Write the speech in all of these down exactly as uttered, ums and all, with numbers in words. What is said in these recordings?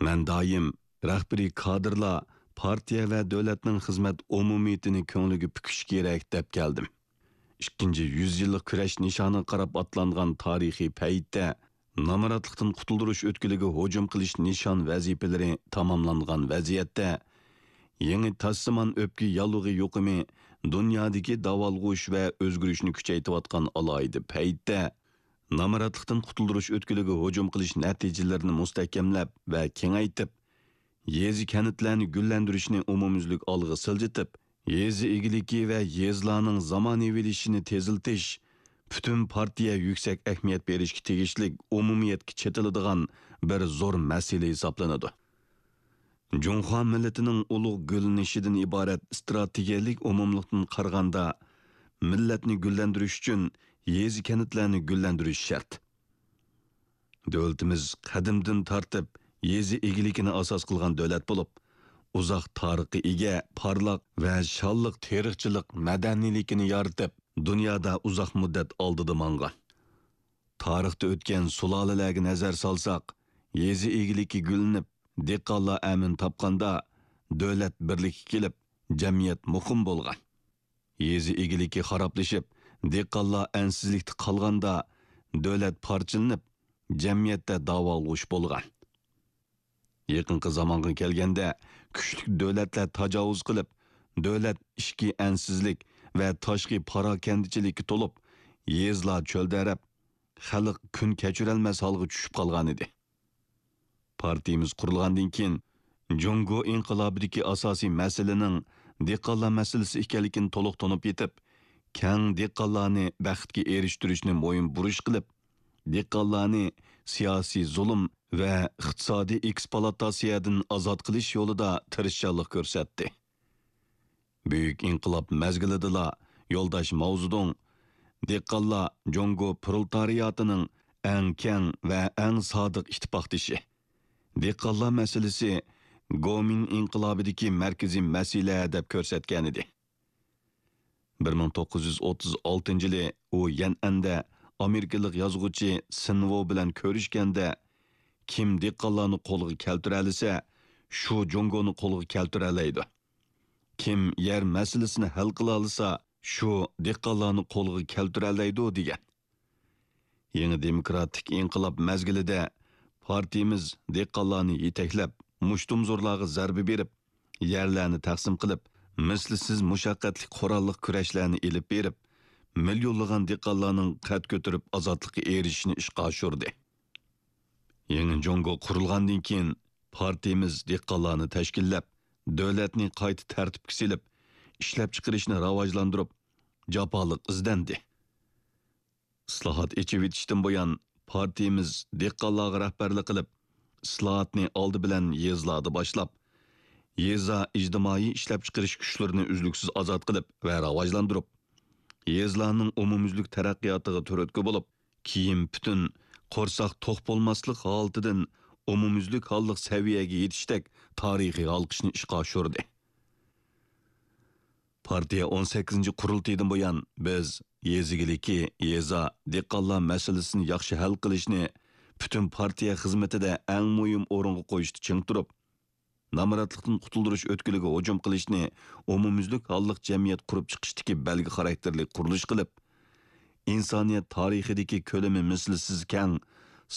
مەن دائىم رەھبىرىي كادىرلار پارتىيە ۋە دۆلەتنىڭ خىزمەت ئومۇمىيىتىنى كۆڭلىگە پۈكۈش كېرەك دەپ كەلدىم. ئىككىنچى يۈز يىللىق كۈرەش نىشانىغا قاراپ ئاتلانغان تارىخىي پەيتتە، نامراتلىقتىن قۇتۇلدۇرۇش ئۆتكىلىگە ھۇجۇم قىلىش نىشان ۋەزىپىلىرى تاماملانغان ۋەزىيەتتە، يېڭى تاشسىمان ئۆپكە ياللۇغى يۇقۇمى دۇنيادىكى داۋالغۇش ۋە ئۆزگىرىشنى كۈچەيتىۋاتقان ئالاھىدە پەيتتە، نامراتلىقتىن قۇتۇلدۇرۇش ئۆتكىلىگە ھۇجۇم قىلىش نەتىجىلىرىنى مۇستەھكەملەپ ۋە كېڭەيتىپ، يېزا، كەنتلەرنى گۈللەندۈرۈشنى ئومۇميۈزلۈك ئالغا سىلجىتىپ، يېزا ئىگىلىكى ۋە يېزىلارنىڭ زامانىۋىلىشىشىنى تېزلىتىش پۈتۈن پارتىيە يۈكسەك ئەھمىيەت بېرىشكە تېگىشلىك ئومۇمىيەتكە چېتىلىدىغان بىر زور مەسىلە ھېسابلىنىدۇ. جۇڭخۇا مىللىتىنىڭ ئۇلۇغ گۈللىنىشىدىن ئىبارەت ئىستراتېگىيەلىك ئومۇملۇقتىن قارىغاندا، مىللەتنى گۈللەندۈرۈش ئۈچۈن يېزا، كەنتلەرنى گۈللەندۈرۈش شەرت. دۆلىتىمىز قەدىمدىن تارتىپ يېزا ئىگىلىكىنى ئاساس قىلغان دۆلەت بولۇپ، ئۇزاق تارىخقا ئىگە، پارلاق ۋە شانلىق تېرىقچىلىق مەدەنىيلىكىنى يارىتىپ، دۇنيادا ئۇزاق مۇددەت ئالدىدا ماڭغان. تارىختا ئۆتكەن سۇلالىلەرگە نەزەر سالساق، يېزا ئىگىلىكى گۈللىنىپ، دېھقانلار ئەمىن تاپقاندا، دۆلەت بىرلىككە كېلىپ، جەمئىيەت مۇقىم بولغان. يېزا ئىگىلىكى خارابلىشىپ، دېھقانلار ئەنسىزلىكتە قالغاندا، دۆلەت پارچىلىنىپ، جەمئىيەتتە داۋالغۇش بولغان. يېقىنقى زامانغا كەلگەندە، كۈچلۈك دۆلەتلەر تاجاۋۇز قىلىپ، دۆلەت ئىچكى ئەنسىزلىك ۋە تاشقى پاراكەندىچىلىككە تولۇپ، يېزىلار چۆلدەرەپ، خەلق كۈن كەچۈرەلمەس ھالغا چۈشۈپ قالغانىدى. پارتىيىمىز قۇرۇلغاندىن كېيىن، جۇڭگو ئىنقىلابىدىكى ئاساسىي مەسىلىنىڭ دېھقانلار مەسىلىسى ئىكەنلىكىنى تولۇق تونۇپ يېتىپ، كەڭ دېھقانلارنى بەختكە ئېرىشتۈرۈشنى مۇھىم بۇرچ قىلىپ، دېھقانلارنى سىياسىي زۇلۇم ۋە ئىقتىسادىي ئېكسپلۇئاتاتسىيەدىن ئازاد قىلىش يولىدا تىرىشچانلىق كۆرسەتتى. بۈيۈك ئىنقىلاب مەزگىلىدىلا يولداش ماۋزېدۇڭ، «دېھقانلار جۇڭگو پرولېتارىياتىنىڭ ئەڭ كەڭ ۋە ئەڭ سادىق ئىتتىپاقدىشى، دېھقانلار مەسىلىسى گومىن ئىنقىلابىدىكى مەركىزىي مەسىلە» دەپ كۆرسەتكەنىدى. بىر مىڭ توققۇز يۈز ئوتتۇز ئالتىنچى يىلى ئۇ يەنئەندە ئامېرىكىلىق يازغۇچى سىنۋو بىلەن كۆرۈشكەندە، «كىم دېھقانلارنى قولغا كەلتۈرەلىسە، شۇ جۇڭگونى قولغا كەلتۈرەلەيدۇ. كىم يەر مەسىلىسىنى ھەل قىلالىسا، شۇ دېھقانلارنى قولغا كەلتۈرەلەيدۇ» دېگەن. يېڭى دېموكراتىك ئىنقىلاب مەزگىلىدە پارتىيىمىز دېھقانلارنى يېتەكلەپ، مۇشتۇمزورلارغا زەربە بېرىپ، يەرلەرنى تەقسىم قىلىپ، مىسلىسىز مۇشەققەتلىك قوراللىق كۈرەشلەرنى ئېلىپ بېرىپ، مىليونلىغان دېھقانلارنىڭ قەد كۆتۈرۈپ ئازادلىققا ئېرىشىشىنى ئىشقا ئاشۇردى. يېڭى جۇڭگو قۇرۇلغاندىن كېيىن، پارتىيىمىز دېھقانلارنى تەشكىللەپ، دۆلەتنى قايتا تەرتىپكە سېلىپ، ئىشلەپچىقىرىشنى راۋاجلاندۇرۇپ، جاپالىق ئىزدەندى. ئىسلاھات، ئېچىۋېتىشتىن بۇيان، پارتىيىمىز دېھقانلارغا رەھبەرلىك قىلىپ، ئىسلاھاتنى ئالدى بىلەن يېزىلاردا باشلاپ، يېزا ئىجتىمائىي ئىشلەپچىقىرىش كۈچلىرىنى ئۈزلۈكسىز ئازاد قىلىپ ۋە راۋاجلاندۇرۇپ، يېزىلارنىڭ ئومۇميۈزلۈك تەرەققىياتىغا تۈرتكە بولۇپ، كىيىم پۈتۈن، قورساق توق بولماسلىق ھالىتىدىن ئومۇميۈزلۈك ھاللىق سەۋىيەگە يېتىشتەك تارىخىي ھالقىشنى ئىشقا ئاشۇردى. پارتىيە ئون سەككىزىنچى قۇرۇلتىيىدىن بۇيان، بىز يېزا ئىگىلىكى، يېزا، دېھقانلار مەسىلىسىنى ياخشى ھەل قىلىشنى پۈتۈن پارتىيە خىزمىتىدە ئەڭ مۇھىم ئورۇنغا قويۇشتا چىڭ تۇرۇپ، نامراتلىقتىن قۇتۇلدۇرۇش ئۆتكىلىگە ھۇجۇم قىلىشنى ئومۇميۈزلۈك ھاللىق جەمئىيەت قۇرۇپ چىقىشتىكى بەلگە خاراكتېرلىك قۇرۇلۇش قىلىپ، ئىنسانىيەت تارىخىدىكى كۆلىمى مىسلىسىز كەڭ،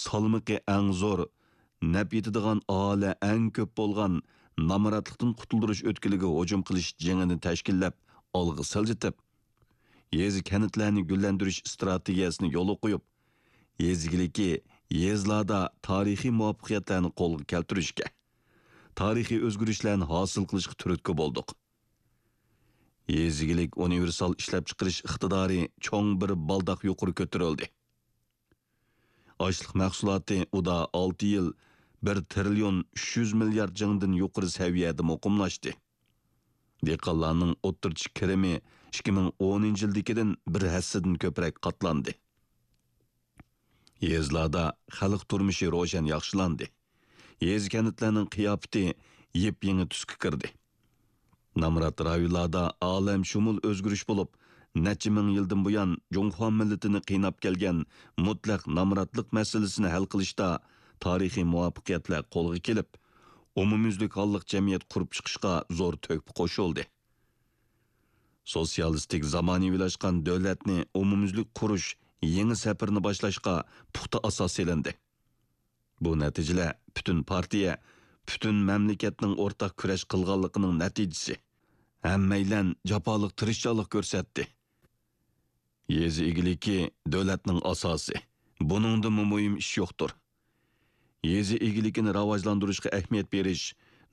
سالمىقى ئەڭ زور، نەپ يېتىدىغان ئاھالە ئەڭ كۆپ بولغان نامراتلىقتىن قۇتۇلدۇرۇش ئۆتكىلىگە ھۇجۇم قىلىش جېڭىنى تەشكىللەپ، ئالغا سىلجىتىپ، يېزا، كەنتلەرنى گۈللەندۈرۈش ئىستراتېگىيەسىنى يولغا قويۇپ، يېزا ئىگىلىكى، يېزىلاردا تارىخىي مۇۋەپپەقىيەتلەرنى قولغا كەلتۈرۈشكە، تارىخىي ئۆزگىرىشلەرنى ھاسىل قىلىشقا تۈرتكە بولدۇق. يېزا ئىگىلىك ئۇنىۋېرسال ئىشلەپچىقىرىش ئىقتىدارى چوڭ بىر بالداق يۇقىرى كۆتۈرۈلدى. ئاشلىق مەھسۇلاتى ئۇدا ئالتە يىل بىر تىرىليون ئۈچ يۈز مىليارد جىڭدىن يۇقىرى سەۋىيەدە مۇقىملاشتى. دېھقانلارنىڭ ئوتتۇرىچە كىرىمى ئىككى مىڭ ئونىنچى يىلدىكىدىن بىر ھەسسىدىن كۆپرەك قاتلاندى. يېزىلاردا خەلق تۇرمۇشى روشەن ياخشىلاندى. يېزا، كەنتلەرنىڭ قىياپىتى يېپيېڭى تۈسكە كىردى. نامرات رايونلاردا ئالەمشۇمۇل ئۆزگىرىش بولۇپ، نەچچە مىڭ يىلدىن بۇيان جۇڭخۇا مىللىتىنى قىيناپ كەلگەن مۇتلەق نامراتلىق مەسىلىسىنى ھەل قىلىشتا تارىخىي مۇۋەپپەقىيەتلەر قولغا كېلىپ، ئومۇميۈزلۈك ھاللىق جەمئىيەت قۇرۇپ چىقىشقا زور تۆھپە قوشۇلدى. سوتسىيالىستىك زامانىۋىلاشقان دۆلەتنى ئومۇميۈزلۈك قۇرۇش يېڭى سەپىرىنى باشلاشقا پۇختا ئاساس سېلىندى. بۇ نەتىجىلەر پۈتۈن پارتىيە، پۈتۈن مەملىكەتنىڭ ئورتاق كۈرەش قىلغانلىقىنىڭ نەتىجىسى. ھەممەيلەن جاپالىق تىرىشچانلىق كۆرسەتتى. يېزا ئىگىلىكى دۆلەتنىڭ ئاساسى. بۇنىڭدىنمۇ مۇھىم ئىش يوقتۇر. يېزا ئىگىلىكىنى راۋاجلاندۇرۇشقا ئەھمىيەت بېرىش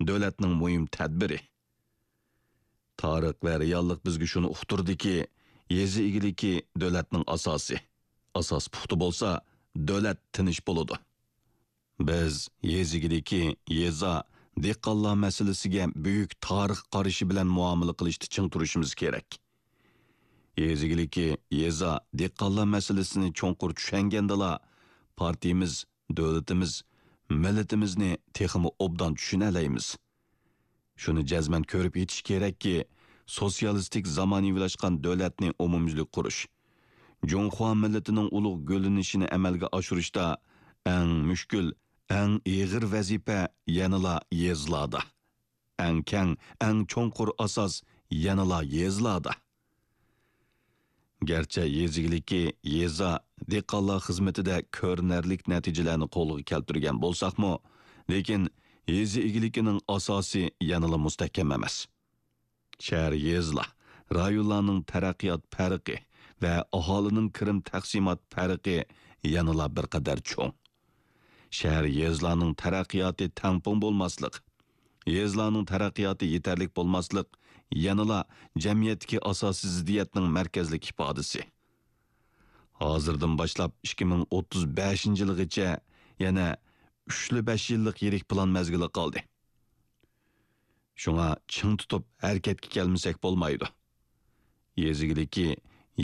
دۆلەتنىڭ مۇھىم تەدبىرى. تارىخ ۋە رېئاللىق بىزگە شۇنى ئۇقتۇردىكى، يېزا ئىگىلىكى دۆلەتنىڭ ئاساسى. ئاساس پۇختا بولسا، دۆلەت تىنچ بولىدۇ. بىز يېزا ئىگىلىكى، يېزا، دېھقانلار مەسىلىسىگە بۈيۈك تارىخ قارىشى بىلەن مۇئامىلە قىلىشتا چىڭ تۇرۇشىمىز كېرەك. يېزا ئىگىلىكى، يېزا، دېھقانلار مەسىلىسىنى چوڭقۇر چۈشەنگەندىلا، پارتىيىمىز، دۆلىتىمىز، مىللىتىمىزنى تېخىمۇ ئوبدان چۈشىنەلەيمىز. شۇنى جەزمەن كۆرۈپ يېتىش كېرەككى، سوتسىيالىستىك زامانىۋىلاشقان دۆلەتنى ئومۇميۈزلۈك قۇرۇش، جۇڭخۇا مىللىتىنىڭ ئۇلۇغ گۈللىنىشىنى ئەمەلگە ئاشۇرۇشتا ئەڭ مۈشكۈل، ئەڭ ئېغىر ۋەزىپە يەنىلا يېزىلاردا. ئەڭ كەڭ، ئەڭ چوڭقۇر ئاساس يەنىلا يېزىلاردا. گەرچە يېزا ئىگىلىكى، يېزا، دېھقانلار خىزمىتىدە كۆرۈنەرلىك نەتىجىلەرنى قولغا كەلتۈرگەن بولساقمۇ، لېكىن يېزا ئىگىلىكىنىڭ ئاساسى يەنىلا مۇستەھكەم ئەمەس. شەھەر، يېزىلار، رايونلارنىڭ تەرەققىيات پەرقى ۋە ئاھالىنىڭ كىرىم تەقسىمات پەرقى يەنىلا بىر قەدەر چوڭ. شەھەر، يېزىلارنىڭ تەرەققىياتى تەڭپۇڭ بولماسلىق، يېزىلارنىڭ تەرەققىياتى يېتەرلىك بولماسلىق يەنىلا جەمئىيەتتىكى ئاساسىي زىددىيەتنىڭ مەركەزلىك ئىپادىسى. ھازىردىن باشلاپ ئىككى مىڭ ئوتتۇز بەشىنچى يىلغىچە يەنە ئۈچلا بەش يىللىق يىرىك پىلان مەزگىلى قالدى. شۇڭا چىڭ تۇتۇپ ھەرىكەتكە كەلمىسەك بولمايدۇ. يېزا ئىگىلىكى،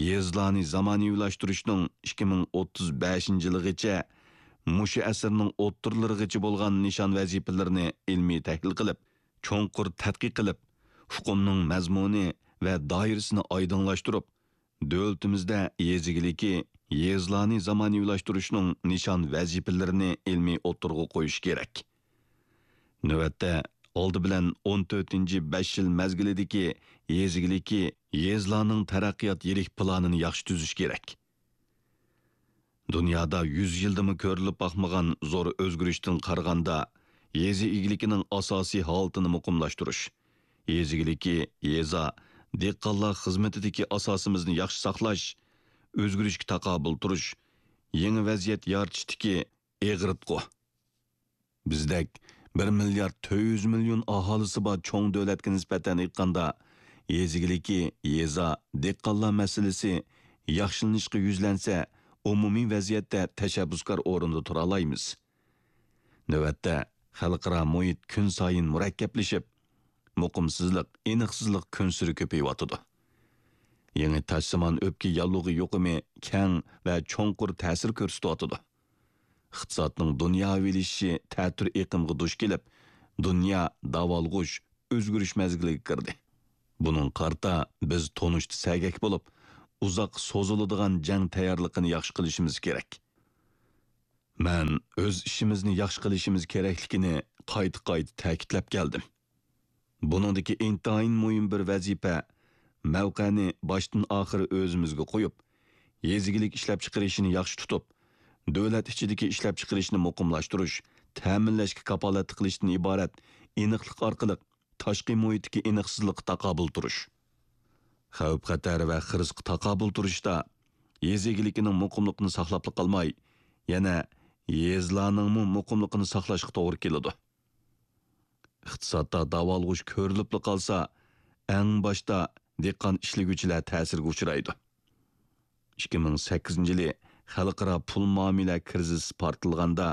يېزىلارنى زامانىۋىلاشتۇرۇشنىڭ ئىككى مىڭ ئوتتۇز بەشىنچى يىلىغىچە، مۇشۇ ئەسىرنىڭ ئوتتۇرىلىرىغىچە بولغان نىشان ۋەزىپىلىرىنى ئىلمىي تەھلىل قىلىپ، چوڭقۇر تەتقىق قىلىپ، ئۇقۇمنىڭ مەزمۇنى ۋە دائىرىسىنى ئايدىڭلاشتۇرۇپ، دۆلىتىمىزدە يېزا ئىگىلىكى، يېزىلارنى زامانىۋىلاشتۇرۇشنىڭ نىشان ۋەزىپىلىرىنى ئىلمىي ئوتتۇرىغا قويۇش كېرەك. نۆۋەتتە، ئالدى بىلەن ئون تۆتىنچى بەش يىل مەزگىلىدىكى يېزا ئىگىلىكى، يېزىلارنىڭ تەرەققىيات يىرىك پىلانىنى ياخشى تۈزۈش كېرەك. دۇنيادا يۈز يىلدىمۇ كۆرۈلۈپ باقمىغان زور ئۆزگىرىشتىن قارىغاندا، يېزا ئىگىلىكىنىڭ ئاساسىي ھالىتىنى مۇقىملاشتۇرۇش، يېزا ئىگىلىكى، يېزا، دېھقانلار خىزمىتىدىكى ئاساسىمىزنى ياخشى ساقلاش، ئۆزگىرىشكە تاقابىل تۇرۇش، يېڭى ۋەزىيەت يارىتىشتىكى ئېغىرتقۇ. بىزدەك بىر مىليارد تۆت يۈز مىليون ئاھالىسى بار چوڭ دۆلەتكە نىسبەتەن ئېيتقاندا، يېزا ئىگىلىكى، يېزا، دېھقانلار مەسىلىسى ياخشىلىنىشقا يۈزلەنسە، ئومۇمىي ۋەزىيەتتە تەشەببۇسكار ئورۇندا تۇرالايمىز. نۆۋەتتە، خەلقئارا مۇھىت كۈنسايىن مۇرەككەپلىشىپ، مۇقىمسىزلىق، ئېنىقسىزلىق كۈنسېرى كۆپىيىۋاتىدۇ. يېڭى تاشسىمان ئۆپكە ياللۇغى يۇقۇمى كەڭ ۋە چوڭقۇر تەسىر كۆرسىتىۋاتىدۇ. ئىقتىسادنىڭ دۇنياۋىلىشىشى تەتۈر ئېقىمغا دۇچ كېلىپ، دۇنيا داۋالغۇش، ئۆزگىرىش مەزگىلىگە كىردى. بۇنىڭغا قارىتا بىز تونۇشتا سەگەك بولۇپ، ئۇزاق سوزۇلىدىغان جەڭ تەييارلىقىنى ياخشى قىلىشىمىز كېرەك. مەن ئۆز ئىشىمىزنى ياخشى قىلىشىمىز كېرەكلىكىنى قايتا-قايتا تەكىتلەپ كەلدىم. بۇنىڭدىكى ئىنتايىن مۇھىم بىر ۋەزىپە، مەۋقەنى باشتىن ئاخىر ئۆزىمىزگە قويۇپ، يېزا ئىگىلىك ئىشلەپچىقىرىشىنى ياخشى تۇتۇپ، دۆلەت ئىچىدىكى ئىشلەپچىقىرىشنى مۇقىملاشتۇرۇش، تەمىنلەشكە كاپالەتلىك قىلىشتىن ئىبارەت ئېنىقلىق ئارقىلىق تاشقى مۇھىتتىكى ئېنىقسىزلىققا تاقابىل تۇرۇش. خەۋپ-خەتەر ۋە خىرىسقا تاقابىل تۇرۇشتا يېزا ئىگىلىكىنىڭ مۇقىملىقىنى ساقلاپلا قالماي، يەنە يېزىلارنىڭمۇ مۇقىملىقىنى ساقلاشقا توغرا كېلىدۇ. ئىقتىسادتا داۋالغۇش كۆرۈلۈپلا قالسا، ئەڭ باشتا دېھقان ئىشلىگۈچىلەر تەسىرگە ئۇچرايدۇ. ئىككى مىڭ سەككىزىنچى يىلى خەلقئارا پۇل مۇئامىلە كىرىزىسى پارتلىغاندا،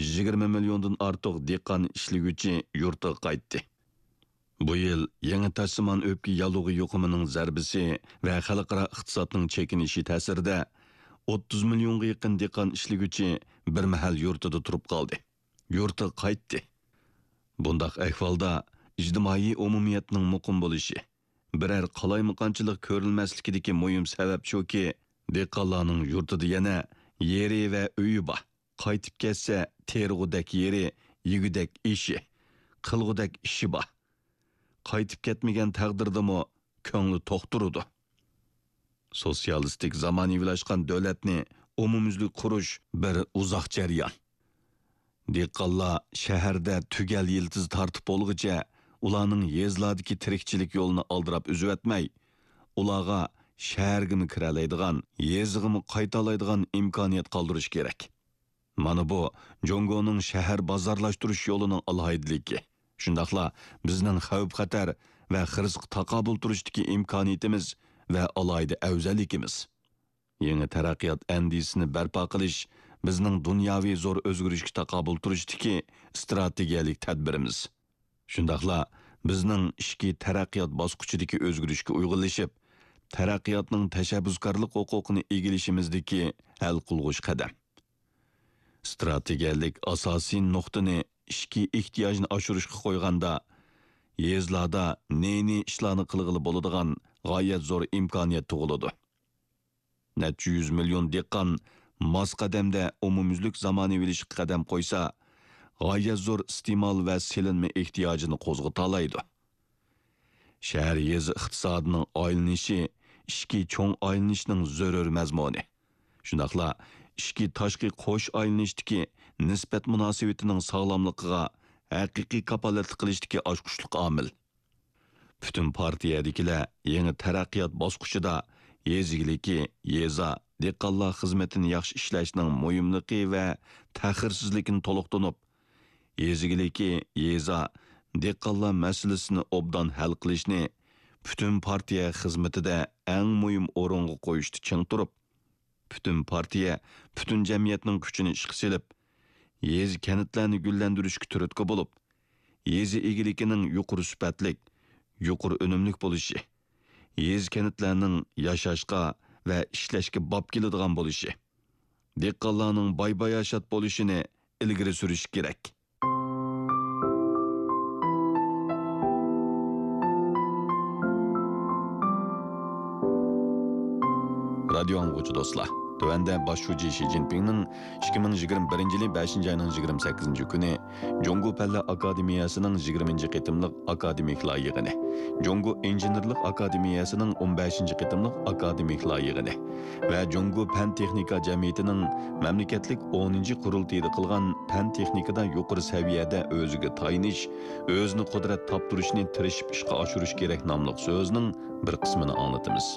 يىگىرمە مىليوندىن ئارتۇق دېھقان ئىشلىگۈچى يۇرتىغا قايتتى. بۇ يىل يېڭى تاشسىمان ئۆپكە ياللۇغى يۇقۇمىنىڭ زەربىسى ۋە خەلقئارا ئىقتىسادنىڭ چېكىنىشى تەسىرىدە، ئوتتۇز مىليونغا يېقىن دېھقان ئىشلىگۈچى بىر مەھەل يۇرتىدا تۇرۇپ قالدى. يۇرتىغا قايتتى. بۇنداق ئەھۋالدا ئىجتىمائىي ئومۇمىيەتنىڭ مۇقىم بولۇشى، بىرەر قالايمىقانچىلىق كۆرۈلمەسلىكىدىكى مۇھىم سەۋەب شۇكى، دېھقانلارنىڭ يۇرتىدا يەنە يېرى ۋە ئۆيى بار. قايتىپ كەتسە، تېرىغۇدەك يېرى، يېگۈدەك ئېشى، قىلغۇدەك ئىشى بار. قايتىپ كەتمىگەن تەقدىردىمۇ كۆڭلى توق تۇرىدۇ. سوتسىيالىستىك زامانىۋىلاشقان دۆلەتنى ئومۇميۈزلۈك قۇرۇش بىر ئۇزاق جەريان. دېھقانلار شەھەردە تۈگەل يىلتىز تارتىپ بولغۇچە، ئۇلارنىڭ يېزىلاردىكى تىرىكچىلىك يولىنى ئالدىراپ ئۈزۈۋەتمەي، ئۇلارغا شەھەرگىمۇ كىرەلەيدىغان، يېزىغىمۇ قايتالايدىغان ئىمكانىيەت قالدۇرۇش كېرەك. مانا بۇ جۇڭگونىڭ شەھەر بازارلاشتۇرۇش يولىنىڭ ئالاھىدىلىكى، شۇنداقلا بىزنىڭ خەۋپ-خەتەر ۋە خىرىسقا تاقابىل تۇرۇشتىكى ئىمكانىيىتىمىز ۋە ئالاھىدە ئەۋزەللىكىمىز. يېڭى تەرەققىيات ئەندىزىسىنى بەرپا قىلىش بىزنىڭ دۇنياۋى زور ئۆزگىرىشكە تاقابىل تۇرۇشتىكى ئىستراتېگىيەلىك تەدبىرىمىز. شۇنداقلا بىزنىڭ ئىچكى تەرەققىيات باسقۇچىدىكى ئۆزگىرىشكە ئۇيغۇنلىشىپ، تەرەققىياتنىڭ تەشەببۇسكارلىق ھوقۇقىنى ئىگىلىشىمىزدىكى ھەل قىلغۇچ قەدەم. ئىستراتېگىيەلىك ئاساسىي نۇقتىنى ئىچكى ئېھتىياجنى ئاشۇرۇشقا قويغاندا، يېزىلاردا نى-نى ئىشلارنى قىلغىلى بولىدىغان غايەت زور ئىمكانىيەت تۇغۇلىدۇ. نەچچە يۈز مىليون دېھقان ماس قەدەمدە ئومۇميۈزلۈك زامانىۋىلىشىشقا قەدەم قويسا، غايەت زور ئىستېمال ۋە سېلىنما ئېھتىياجىنى قوزغىتالايدۇ. شەھەر يېزا ئىقتىسادىنىڭ ئايلىنىشى ئىچكى چوڭ ئايلىنىشنىڭ زۆرۈر مەزمۇنى. شۇنداقلا ئىچكى تاشقى قوش ئايلىنىشتىكى نىسبەت مۇناسىۋىتىنىڭ ساغلاملىقىغا ھەقىقىي كاپالەتلىك قىلىشتىكى ئاچقۇچلۇق ئامىل. پۈتۈن پارتىيەدىكىلەر يېڭى تەرەققىيات باسقۇچىدا يېزا ئىگىلىكى، يېزا، دېھقانلار خىزمىتىنى ياخشى ئىشلەشنىڭ مۇھىملىقى ۋە تەخىرسىزلىكىنى تولۇق تونۇپ، يېزا ئىگىلىكى، يېزا، دېھقانلار مەسىلىسىنى ئوبدان ھەل قىلىشنى پۈتۈن پارتىيە خىزمىتىدە ئەڭ مۇھىم ئورۇنغا قويۇشتا چىڭ تۇرۇپ، پۈتۈن پارتىيە، پۈتۈن جەمئىيەتنىڭ كۈچىنى ئىشقا سېلىپ، يېزا، كەنتلەرنى گۈللەندۈرۈشكە تۈرتكە بولۇپ، يېزا ئىگىلىكىنىڭ يۇقىرى سۈپەتلىك، يۇقىرى ئۈنۈملۈك بولۇشى، يېزا، كەنتلەرنىڭ ياشاشقا ۋە ئىشلەشكە باب كېلىدىغان بولۇشى، دېھقانلارنىڭ باي-باياشات بولۇشىنى ئىلگىرى سۈرۈش كېرەك. رادىيو ئاڭلىغۇچى دوستلار، تۆۋەندە باش شۇجى شى جىنپىڭنىڭ ئىككى مىڭ يىگىرمە بىرىنچى يىلى بەشىنچى ئاينىڭ يىگىرمە سەككىزىنچى كۈنى جۇڭگو پەنلەر ئاكادېمىيەسىنىڭ يىگىرمىنچى قېتىملىق ئاكادېمىكلار يىغىنى، جۇڭگو ئىنژېنېرلىق ئاكادېمىيەسىنىڭ ئون بەشىنچى قېتىملىق ئاكادېمىكلار يىغىنى ۋە جۇڭگو پەن تېخنىكا جەمئىيىتىنىڭ مەملىكەتلىك ئونىنچى قۇرۇلتىيىدا قىلغان پەن تېخنىكىدا يۇقىرى سەۋىيەدە ئۆزىگە تايىنىش، ئۆزىنى قۇدرەت تاپتۇرۇشنى تىرىشىپ ئىشقا ئاشۇرۇش كېرەك ناملىق سۆزىنىڭ بىر قىسمىنى ئاڭلىتىمىز.